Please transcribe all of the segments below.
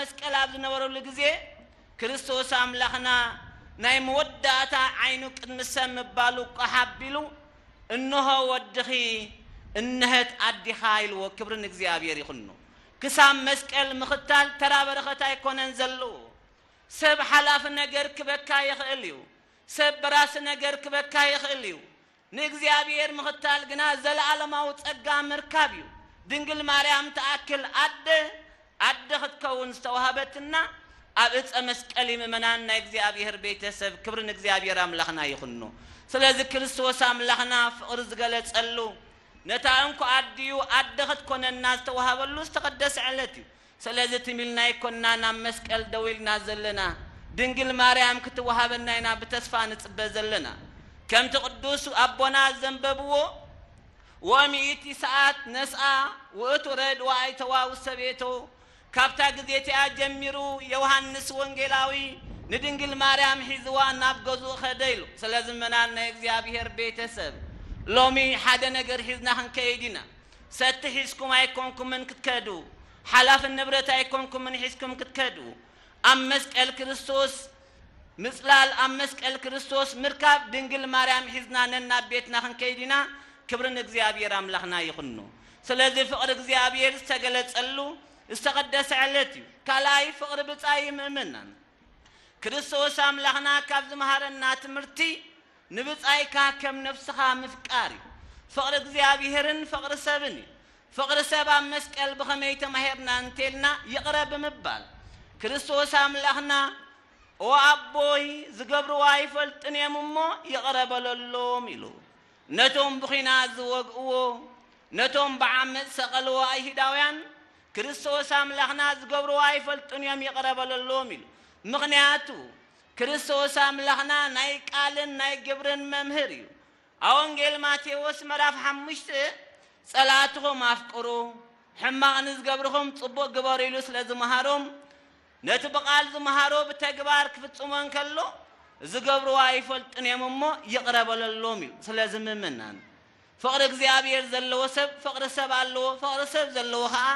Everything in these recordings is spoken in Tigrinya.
መስቀል ኣብ ዝነበረሉ ግዜ ክርስቶስ ኣምላኽና ናይ መወዳእታ ዓይኑ ቅድሚ ሰብ ምባሉ ቋሕ ኣቢሉ፣ "እንሆ ወድኺ፣ እንሀት ኣዲኻ" ኢልዎ። ክብሪ ንእግዚኣብሔር ይኹኖ። ክሳብ መስቀል ምኽታል ተራ በረኸት ኣይኮነን ዘለዎ። ሰብ ሓላፊ ነገር ክበካ ይኽእል እዩ። ሰብ በራሲ ነገር ክበካ ይኽእል እዩ። ንእግዚኣብሔር ምኽታል ግና ዘለዓለማዊ ጸጋ ምርካብ እዩ። ድንግል ማርያም ትኣክል ኣደ፣ ኣደ ክትከውን ዝተዋህበትና ኣብ እፀ መስቀል እዩ። ምእመናን ናይ እግዚኣብሔር ቤተሰብ፣ ክብሪ ንእግዚኣብሔር ኣምላኽና ይኹኖ። ስለዚ ክርስቶስ ኣምላኽና ፍቕሪ ዝገለጸሉ፣ ነታ እንኮ ኣዲኡ ኣደ ክትኮነና ዝተዋህበሉ ዝተቐደሰ ዕለት እዩ። ስለዚ ትም ኢልና ኣይኮንና ናብ መስቀል ደው ኢልና ዘለና። ድንግል ማርያም ክትወሃበና ኢና ብተስፋ ንጽበ ዘለና። ከምቲ ቅዱስ ኣቦና ዘንበብዎ፣ "ወሚእቲ ሰዓት ነስኣ ውእቱ ረድ ወኣይተዋ ውሰቤቶ"፣ ካብታ ግዜ እቲኣ ጀሚሩ ዮሃንስ ወንጌላዊ ንድንግል ማርያም ሒዝዋ ናብ ገዝኡ ኸደ ኢሉ። ስለዚ ምእመናን ናይ እግዚኣብሔር ቤተሰብ፣ ሎሚ ሓደ ነገር ሒዝና ክንከይድ ኢና። ሰቲ ሒዝኩም ኣይኮንኩምን ክትከዱ፣ ሓላፊ ንብረት ኣይኮንኩምን ሒዝኩም ክትከዱ። ኣብ መስቀል ክርስቶስ ምጽላል፣ ኣብ መስቀል ክርስቶስ ምርካብ፣ ድንግል ማርያም ሒዝና ነናብ ቤትና ክንከይድ ኢና። ክብሪ ንእግዚኣብሔር ኣምላኽና ይኹኖ። ስለዚ ፍቕሪ እግዚኣብሔር ዝተገለጸሉ ዝተቐደሰ ዕለት እዩ። ካልኣይ ፍቕሪ ብጻይ ምእመናን። ክርስቶስ ኣምላኽና ካብ ዝመሃረና ትምህርቲ፣ ንብጻይካ ከም ነፍስኻ ምፍቃር እዩ። ፍቕሪ እግዚኣብሔርን ፍቕሪ ሰብን እዩ። ፍቕሪ ሰብ ኣብ መስቀል ብኸመይ ተማሂርና እንተልና፣ ይቕረ ብምባል። ክርስቶስ ኣምላኽና፣ "ኦ ኣቦይ፣ ዝገብርዎ ኣይፈልጡን እዮም እሞ ይቕረ በለሎም" ኢሉ። ነቶም ብኹናት ዝወግእዎ፣ ነቶም ብዓመጽ ሰቐልዎ ኣይሁዳውያን፣ "ክርስቶስ ኣምላኽና ዝገብርዎ ኣይፈልጡን እዮም፣ ይቕረ በለሎም" ኢሉ። ምኽንያቱ፣ ክርስቶስ ኣምላኽና ናይ ቃልን ናይ ግብርን መምህር እዩ። ኣብ ወንጌል ማቴዎስ ምዕራፍ ሓሙሽተ፣ "ጸላእትኹም ኣፍቅሩ፣ ሕማቕ ንዝገብርኹም ጽቡቕ ግበሩ" ኢሉ ስለ ዝመሃሮም፣ ነቲ ብቓል ዝመሃሮ ብተግባር ክፍጽሞ እንከሎ፣ "ዝገብርዎ ኣይፈልጡን እዮም እሞ ይቕረ በለሎም" እዩ። ስለዚ ምእመናን፣ ፍቕሪ እግዚኣብሔር ዘለዎ ሰብ ፍቕሪ ሰብ ኣለዎ፣ ፍቕሪ ሰብ ዘለዎ ኸኣ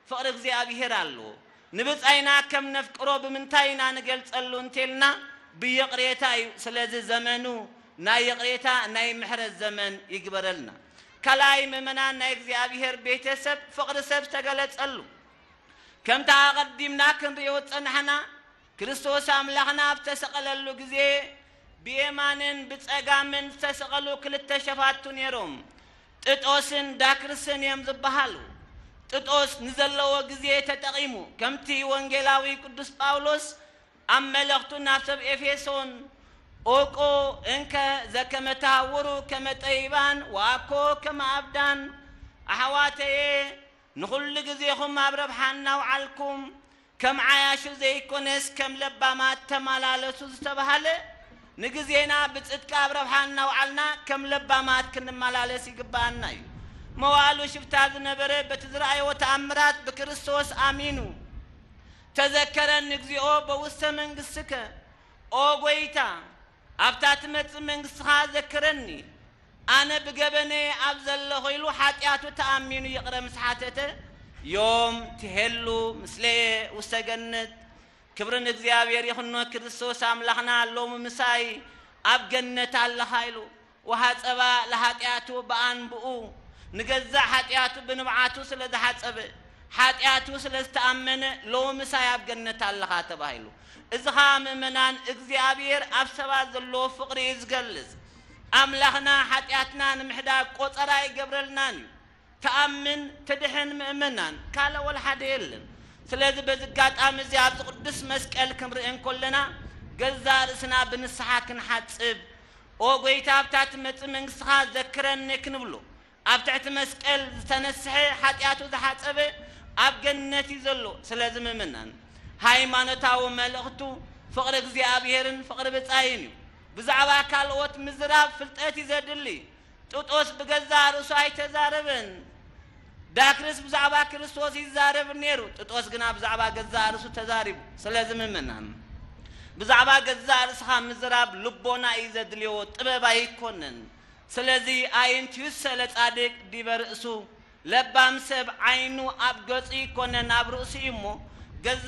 ፍቕሪ እግዚኣብሔር ኣለዎ። ንብጻይና ከም ነፍቅሮ ብምንታይ ኢና ንገልጸሉ እንተልና፣ ብይቕሬታ እዩ። ስለዚ ዘመኑ ናይ ይቕሬታ ናይ ምሕረት ዘመን ይግበረልና። ካልኣይ ምእመናን ናይ እግዚኣብሔር ቤተሰብ ፍቕሪ ሰብ ዝተገለጸሉ። ከምቲ ኣቐዲምና ክንርእዮ ዝጸናሕና፣ ክርስቶስ ኣምላኽና ኣብ ተሰቐለሉ ግዜ ብየማንን ብጸጋምን ዝተሰቐሉ ክልተ ሸፋቱ ነይሮም። ጥጦስን ዳክርስን እዮም ዝበሃሉ። ጥጦስ ንዘለዎ ግዜ ተጠቒሙ፣ ከምቲ ወንጌላዊ ቅዱስ ጳውሎስ ኣብ መልእኽቱ ናብ ሰብ ኤፌሶን፣ "ኦቆ እንከ ዘከመ ተሃውሩ ከመ ጠቢባን ወአኮ ከመ አብዳን፣ ኣሕዋተየ፣ ንኹሉ ግዜኹም ኣብ ረብሓ እናውዓልኩም፣ ከም ዓያሹ ዘይኮነስ ከም ለባማት ተመላለሱ" ዝተባህለ፣ ንግዜና ብጽድቂ ኣብ ረብሓ እናውዓልና ከም ለባማት ክንመላለስ ይግብኣና እዩ። መዋእሉ ሽፍታ ዝነበረ በቲ ዝረኣዮ ተኣምራት ብክርስቶስ ኣሚኑ፣ "ተዘከረኒ እግዚኦ በውስተ መንግሥትከ"፣ ኦ ጐይታ፣ ኣብታ ትመጽእ መንግሥትኻ ዘክረኒ፣ ኣነ ብገበነየ ኣብ ዘለኹ ኢሉ ሓጢኣቱ ተኣሚኑ ይቕረ ምስ ሓተተ፣ "ዮም ትሄሉ ምስሌየ ውስተ ገነት"፣ ክብሪ ንእግዚኣብሔር ይኹኖ። ክርስቶስ ኣምላኽና ሎሚ ምሳይ ኣብ ገነት ኣለኻ ኢሉ፣ "ወሃጸባ ለሓጢኣቱ በኣንብኡ"፣ ንገዛእ ሓጢኣቱ ብንብዓቱ ስለ ዝሓጸበ፣ ሓጢኣቱ ስለ ዝተኣመነ፣ "ሎሚ ምሳይ ኣብ ገነት ኣለኻ" ተባሂሉ። እዚ ኸኣ ምእመናን፣ እግዚኣብሔር ኣብ ሰባት ዘለዎ ፍቕሪ እዩ ዝገልጽ። ኣምላኽና ሓጢኣትና ንምሕዳግ ቆጸራ ኣይገብረልናን እዩ። ትኣምን ትድሕን ምእመናን፣ ካልእ ወላ ሓደ የለን። ስለዚ በዚ ኣጋጣሚ እዚ ኣብዚ ቅዱስ መስቀል ክንርኢ እንከለና፣ ገዛእ ርእስና ብንስሓ ክንሓጽብ፣ "ኦ ጐይታ፣ ኣብታ ትመጽእ መንግስትኻ ዘክረኒ" ክንብሎ፣ ኣብ ትሕቲ መስቀል ዝተነስሐ፣ ሓጢኣቱ ዝሓጸበ ኣብ ገነት እዩ ዘሎ። ስለዚ ምእመናን፣ ሃይማኖታዊ መልእኽቱ ፍቕሪ እግዚኣብሔርን ፍቕሪ ብጻይን እዩ። ብዛዕባ ካልኦት ምዝራብ ፍልጠት እዩ ዘድሊ። ጥጦስ ብገዛእ ርእሱ ኣይተዛረበን። ዳክርስ ብዛዕባ ክርስቶስ ይዛረብ ነይሩ። ጥጦስ ግና ብዛዕባ ገዛእ ርእሱ ተዛሪቡ። ስለዚ ምእመናን፣ ብዛዕባ ገዛእ ርእስኻ ምዝራብ ልቦና እዩ ዘድልዮ፣ ጥበብ ኣይኮነን። ስለዚ ኣየንትዩሰ ለጻድቅ ዲበ ርእሱ፣ ለባም ሰብ ዓይኑ ኣብ ገጹ ይኮነን ኣብ ርእሱ እዩ እሞ፣ ገዛ